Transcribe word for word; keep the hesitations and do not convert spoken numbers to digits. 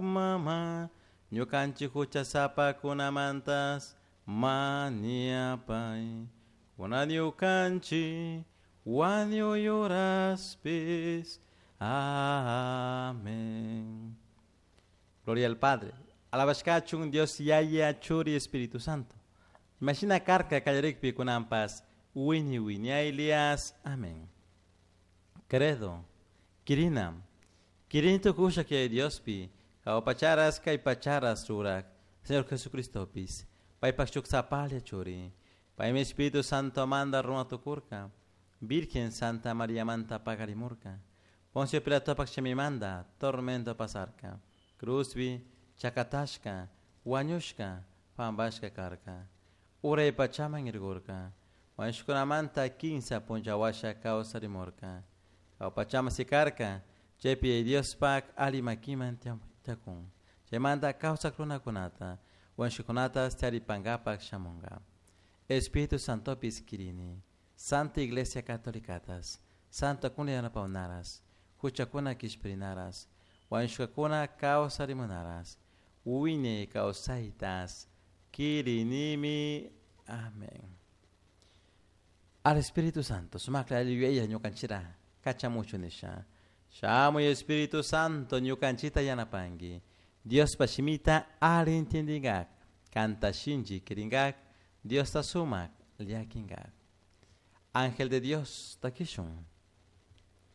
Mama, ñukanchik huchasapakunamantas mañapay. Kunan ñukanchik wañuy uraspis. Amén. Gloria al Padre. Alabashkachun Dios Yaya Churi Espíritu Santo. Imashina karka kallarikpi kunanpas wiñay wiñaylias. Amén. Credo. Kirinam. Kirini tukusha Yaya Diospi. Jahua pacharas kay pacharas rurak. Señor Jesucristopis. Paypak shuk sapalla churi. Paymi Espíritu Santo manda runa tukurka. Virgen Santa María manta pakarimurka. Poncio Pilatopak manda tormento pasarka. Cruzbi chakatashka, wañushka, pambashka karka. Uray pachaman irgurka. Wañushkunamanta kinsa punchawasha kawsarimurka. Pachama sikarka, chaypi Diospak ali makiman tiyakun. Chaymanta kawsak runakunata, wañushkakunata taripankapak shamunka. Espíritu Santopis kirini, Santa Iglesia Catolicatas, Santa kuna yanapawnaras, huchakuna kishpirinaras, wañushkakuna kawsarimunaras, wiñay kawsaytas, kirinimi. Amén. Al Espíritu Santo, sumakla yuyaylla ñukanchira, kachamuchu nisha. Shamuy Espíritu Santo ñukanchita yanapanki. Diospa shimita ali entiendingak, kanta shinchi kiringak, Diosta sumak llakinkak. Ángel de Dios, takishun.